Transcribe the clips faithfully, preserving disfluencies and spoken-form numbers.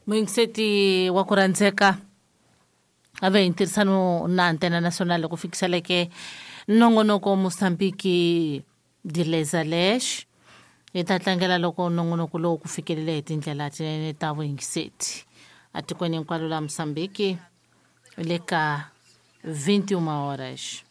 Muyingiseti wa ku rhandzeka a ve hi ntirhisano na Antena Nacional ku fikiseleke nongonoko Mozambique Dilezalesh. Hi ta tlangela loko nongonoko lowu ku fikelele hi tindlela tinene ta vuyingiseti atikweni hinkwaro la Mozambique le ka vinte e uma horas.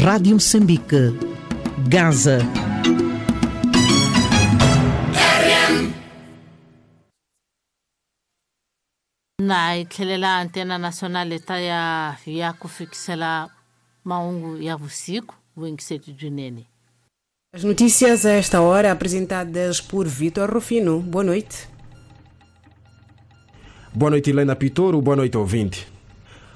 Rádio Moçambique, Gaza. Na hi tlhelela Antena Nacional ta ya ya ku fikisela mahungu ya vusiku vuyingiseti byinene. As notícias a esta hora apresentadas por Vitor Rufino. Boa noite. Boa noite, Helena Pitoro. Boa noite, ouvinte.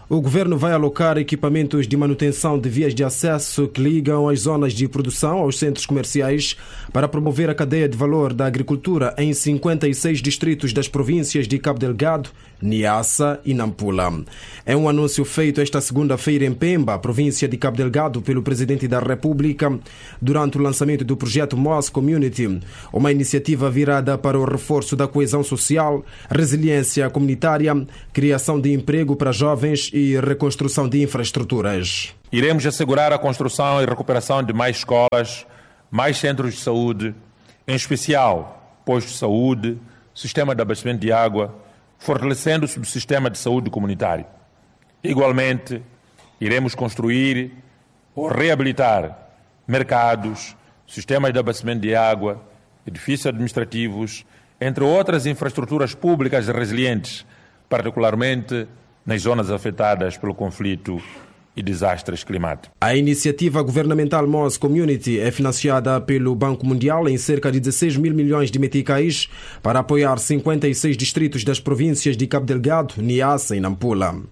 O governo vai alocar equipamentos de manutenção de vias de acesso que ligam as zonas de produção aos centros comerciais para promover a cadeia de valor da agricultura em cinquenta e seis distritos das províncias de Cabo Delgado, Niassa e Nampula. É um anúncio feito esta segunda-feira em Pemba, província de Cabo Delgado, pelo presidente da República, durante o lançamento do projeto Moss Community, uma iniciativa virada para o reforço da coesão social, resiliência comunitária, criação de emprego para jovens e reconstrução de infraestruturas. Iremos assegurar a construção e recuperação de mais escolas, mais centros de saúde, em especial postos de saúde, sistema de abastecimento de água, fortalecendo o subsistema de saúde comunitário. Igualmente, iremos construir ou reabilitar mercados, sistemas de abastecimento de água, edifícios administrativos, entre outras infraestruturas públicas resilientes, particularmente nas zonas afetadas pelo conflito e desastres climáticos. A iniciativa governamental Moss Community é financiada pelo Banco Mundial em cerca de dezesseis mil milhões de meticais para apoiar cinquenta e seis distritos das províncias de Cabo Delgado, Niassa e Nampula.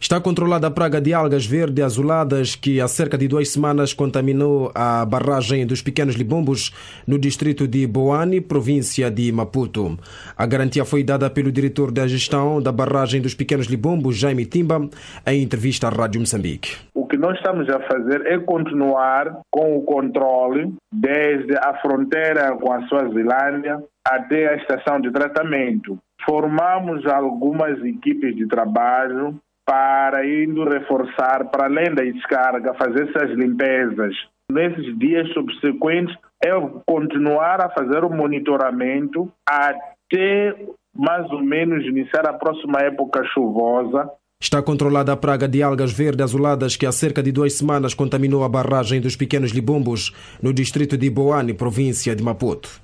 Está controlada a praga de algas verde azuladas que há cerca de duas semanas contaminou a barragem dos Pequenos Libombos no distrito de Boane, província de Maputo. A garantia foi dada pelo diretor da gestão da barragem dos Pequenos Libombos, Jaime Timba, em entrevista à Rádio Moçambique. O que nós estamos a fazer é continuar com o controle desde a fronteira com a Suazilândia até a estação de tratamento. Formamos algumas equipes de trabalho para indo reforçar, para além da descarga, fazer essas limpezas. Nesses dias subsequentes, é continuar a fazer o monitoramento até mais ou menos iniciar a próxima época chuvosa. Está controlada a praga de algas verde azuladas que há cerca de duas semanas contaminou a barragem dos Pequenos Libombos, no distrito de Boane, província de Maputo.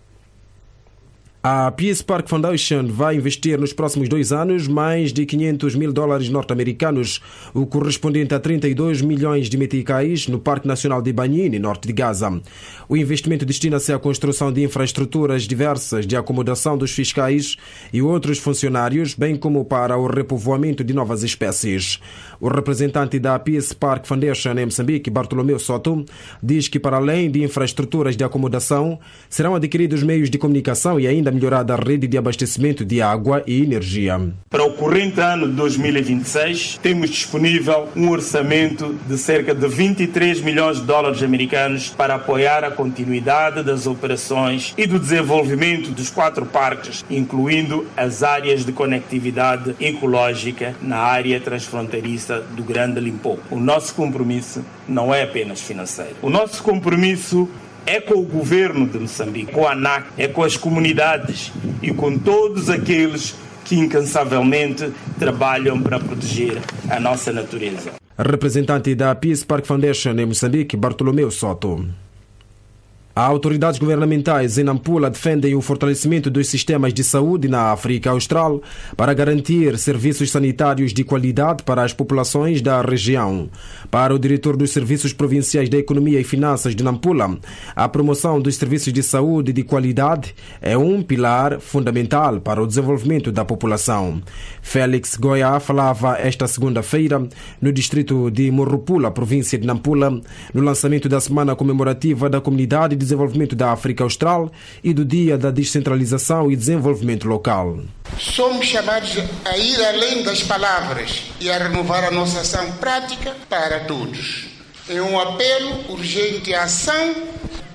A Peace Park Foundation vai investir nos próximos dois anos mais de quinhentos mil dólares norte-americanos, o correspondente a trinta e dois milhões de meticais, no Parque Nacional de Banhine, norte de Gaza. O investimento destina-se à construção de infraestruturas diversas de acomodação dos fiscais e outros funcionários, bem como para o repovoamento de novas espécies. O representante da Peace Park Foundation em Moçambique, Bartolomeu Soto, diz que para além de infraestruturas de acomodação, serão adquiridos meios de comunicação e ainda melhorada a rede de abastecimento de água e energia. Para o corrente ano de dois mil e vinte e seis, temos disponível um orçamento de cerca de vinte e três milhões de dólares americanos para apoiar a continuidade das operações e do desenvolvimento dos quatro parques, incluindo as áreas de conectividade ecológica na área transfronteiriça do Grande Limpopo. O nosso compromisso não é apenas financeiro. O nosso compromisso é com o governo de Moçambique, com a ANAC, é com as comunidades e com todos aqueles que incansavelmente trabalham para proteger a nossa natureza. Representante da Peace Park Foundation em Moçambique, Bartolomeu Soto. Autoridades governamentais em Nampula defendem o fortalecimento dos sistemas de saúde na África Austral para garantir serviços sanitários de qualidade para as populações da região. Para o diretor dos Serviços Provinciais da Economia e Finanças de Nampula, a promoção dos serviços de saúde de qualidade é um pilar fundamental para o desenvolvimento da população. Félix Goiá falava esta segunda-feira no distrito de Morropula, província de Nampula, no lançamento da Semana Comemorativa da Comunidade de Desenvolvimento da África Austral e do Dia da Descentralização e Desenvolvimento Local. Somos chamados a ir além das palavras e a renovar a nossa ação prática para todos. É um apelo urgente à ação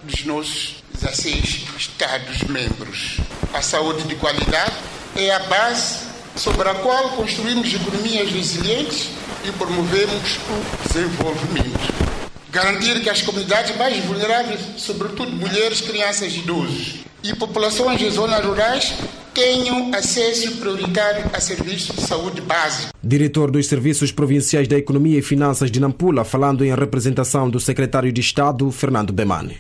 dos nossos dezasseis Estados-membros. A saúde de qualidade é a base sobre a qual construímos economias resilientes e promovemos o desenvolvimento. Garantir que as comunidades mais vulneráveis, sobretudo mulheres, crianças e idosos, e populações de zonas rurais, tenham acesso prioritário a serviços de saúde básico. Diretor dos Serviços Provinciais da Economia e Finanças de Nampula, falando em representação do secretário de Estado, Fernando Bemane.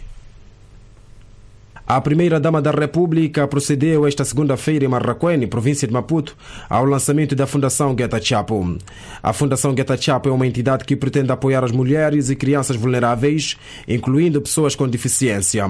A primeira-dama da República procedeu esta segunda-feira em Marracuene, província de Maputo, ao lançamento da Fundação Gueta Chapo. A Fundação Gueta Chapo é uma entidade que pretende apoiar as mulheres e crianças vulneráveis, incluindo pessoas com deficiência.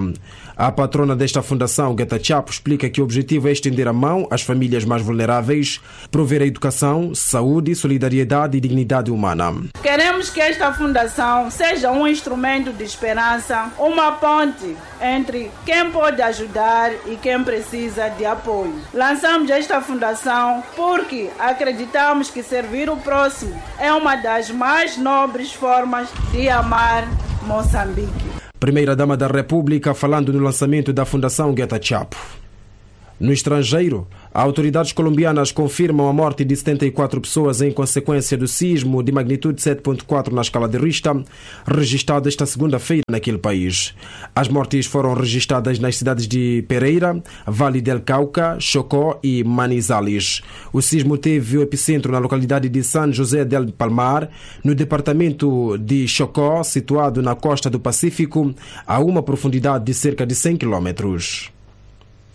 A patrona desta fundação, Gueta Chapo, explica que o objetivo é estender a mão às famílias mais vulneráveis, prover a educação, saúde, solidariedade e dignidade humana. Queremos que esta fundação seja um instrumento de esperança, uma ponte entre quem pode ajudar e quem precisa de apoio. Lançamos esta fundação porque acreditamos que servir o próximo é uma das mais nobres formas de amar Moçambique. Primeira-dama da República falando no lançamento da Fundação Gueta Chapo. No estrangeiro, autoridades colombianas confirmam a morte de setenta e quatro pessoas em consequência do sismo de magnitude sete ponto quatro na escala de Richter, registrado esta segunda-feira naquele país. As mortes foram registradas nas cidades de Pereira, Vale del Cauca, Chocó e Manizales. O sismo teve o epicentro na localidade de San José del Palmar, no departamento de Chocó, situado na costa do Pacífico, a uma profundidade de cerca de cem quilômetros.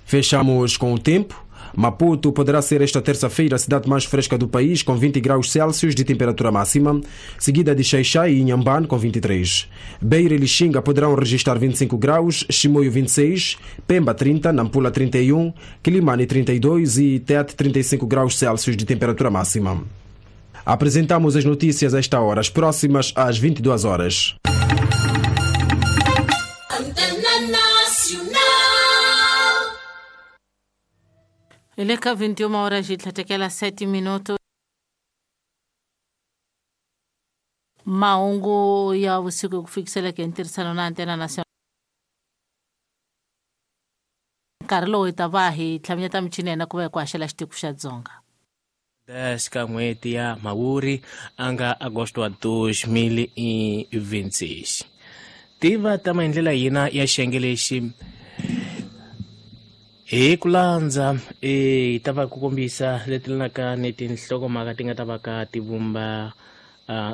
Fechamos com o tempo. Maputo poderá ser esta terça-feira a cidade mais fresca do país, com vinte graus Celsius de temperatura máxima, seguida de Xaixai e Inhambane, com vinte e três. Beira e Lixinga poderão registrar vinte e cinco graus, Chimoio vinte e seis, Pemba trinta, Nampula trinta e um, Quilimane trinta e dois e Tete trinta e cinco graus Celsius de temperatura máxima. Apresentamos as notícias a esta hora, as próximas às vinte e duas horas. Eleka vinte e uma horas e trinta e sete minutos. Maungu ya usiku kufikisela ke ntirhisano na Antena Nacional. Nkarhi lowu hi ta va hi tlhamanyeta michini ya hina ku va hi ku haxela xitiko xa Dzonga. dez ka n'hweti ya Mhawuri a nga Agosto wa dois mil e vinte e seis. Tiva ta maendlela hina ya xiyenge lexi hi ku landza hi ta va ku kombisa leti lanaka ni tinhlokomhaka ti nga ta va ka ti vumba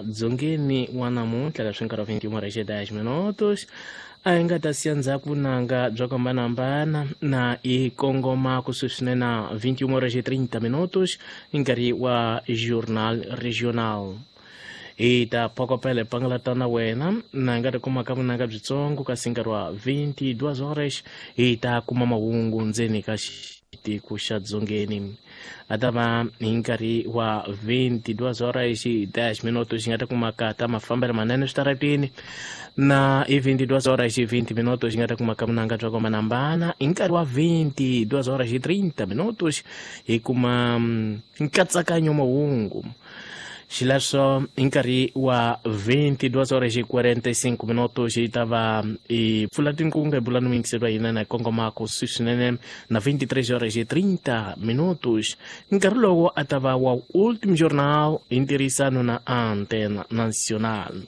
dzongeni wa namuntlha leswi nkarhi wa vinte e uma horas e dez minutos a hi nga ta siya ndzhaku vunanga bya ku hambanahambana na hi kongoma kusuhi swinene na vinte e uma horas e trinta minutos hi nkarhi wa Journal Regional. Hi ta phokopela hi pangalata na wena na hi nga ti kumaka vunanga byitsongo kasi nkarhi wa vinte e duas horas hi ta kuma mahungu ndzeni ka xitiko xa Dzongeni. A ta va hi nkarhi wa vinte e duas horas e dez minutos hi nga ta kumaka ta mafambelo manene switarateni na hi vinte e duas horas e vinte minutos hi nga ta kumaka vunanga bya ku hambanahambana. Hi nkarhi wa vinte e duas horas e trinta minutos hi kuma nkatsakanyo mahungu. Xileswo hi nkarhi wa vinte e duas horas e quarenta e cinco minutos hi ta va hi pfula tinkunga hi bula ni muyingiseri wa hina na hi kongoma kusuhi swinene na vinte e três horas e trinta minutos. Nkarhi lowu a ta va wa Último Jornal hi ntirhisano na Antena Nacional.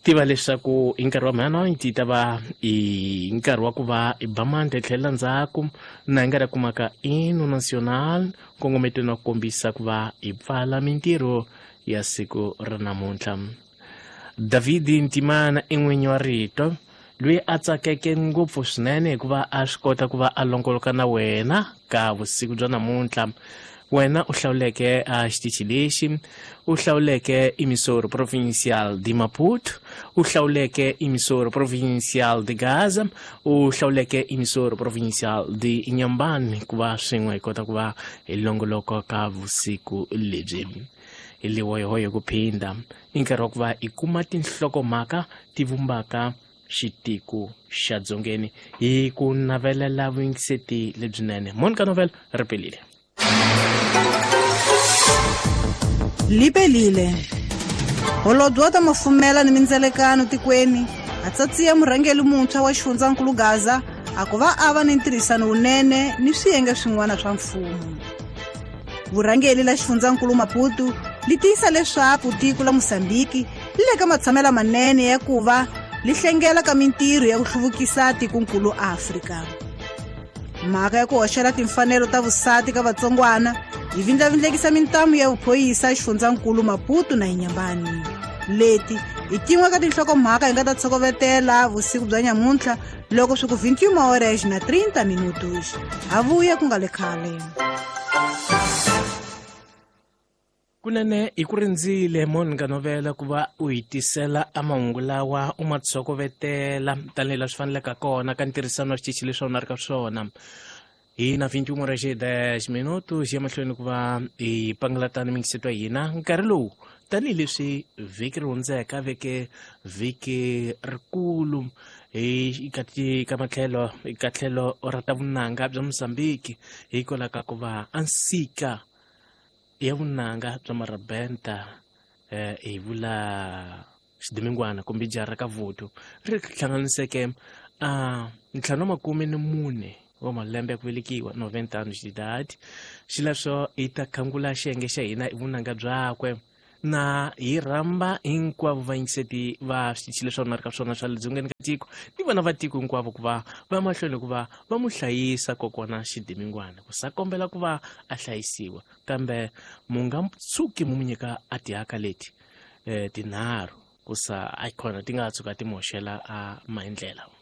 Tiva leswaku hi nkarhi wa meia-noite hi ta va hi nkarhi wa ku va hi ba mandla hi tlhelela ndzhaku na hi nga ta kumaka Hino Nacional nkongometweni wa ku kombisa ku va hi pfala mintirho ya siku ra namuntlha. David Ntimana i n'winyi wa rito loyi a tsakeke ngopfu swinene hikuva a swi kota ku va a longoloka na wena ka vusiku bya namuntlha. Wena u hlawuleke a xitichi lexi, u hlawuleke Emissora Provincial de Maputo, u hlawuleke Emissora Provincial de Gaza, u hlawuleke Emissora Provincial de Inhambane ku va swin'we hi kota ku va hi longoloka ka vusiku lebyi. Hi lihoyohoyo ku phinda i nkarhi wa ku va hi kuma tinhlokomhaka ti vumbaka xitiko xa dzongeni hi ku navelela vuyingiseti lebyinene. Monica Novel ripelile. Lipelile. Holobye wa ta mafumela ni mindzelekano tikweni a tsatsiya murhangeri muntshwa wa xifundzankulu Gaza a ku va a va ni ntirhisano wunene ni swiyenge swin'wana swa mfumo. Vurhangeri la xifundzankulu Maputo li tiyisa leswaku tiko la Mozambiki li le ka matshamelo manene ya ku va li hlengela ka mintirho ya ku hluvukisa tikonkulu Afrika. Mhaka ya ku hoxela timfanelo ta vusati ka vatsongwana yi vindlavindlekisa mintamu ya vuphoyisa xifundzankulu Maputo na Inhambane. Leti i tin'we ka tinhlokomhaka hi nga ta tshokovetela vusiku bya nyamuntlha loko swi ku vinte e uma horas na trinta minutos. Ha vuya ku nga le khale. Kunene hi ku rindzile Monica Novela ku va u hi tisela a mahungu lawa u ma tshokovetela tanihileswi swi faneleke kona ka ntirhisano wa xitichi leswi a wu na ri ka swona. Hi na vinte e uma horas e dez minutos ya mahlweni ku va hi pangalatana mingiseto ya hina nkarhi lowu tanihileswi vhiki ri hundzeka veke vhiki rikulu hi ka ka matlhelo ka tlhelo ra ta vunanga bya Mozambiki hikwalaho ka ku va a nsika ya vunanga bya marabenta eh hi vula xidimingwana kumbe jara ka voto ri hlanganiseke a ntlhanu makume ni mune wa malembe ya ku velekiwa noventa anos de idade. Xileswo hi ta khangula xiyenge xa hina hi vunanga byakwe na hi rhamba hinkwavo vayingiseti va switichi leswi a ri ka swona swa le dzongeni ka tiko ni vana va tiko hinkwavo ku va va mahlweni ku va va mu hlayisa kokwana xidimingwana ku sa kombela ku va a hlayisiwa kambe mu nga tshuki mu nyika a tihaka leti eh tinharhu ku sa a khona ti nga tshuka ti moxela a maendlela.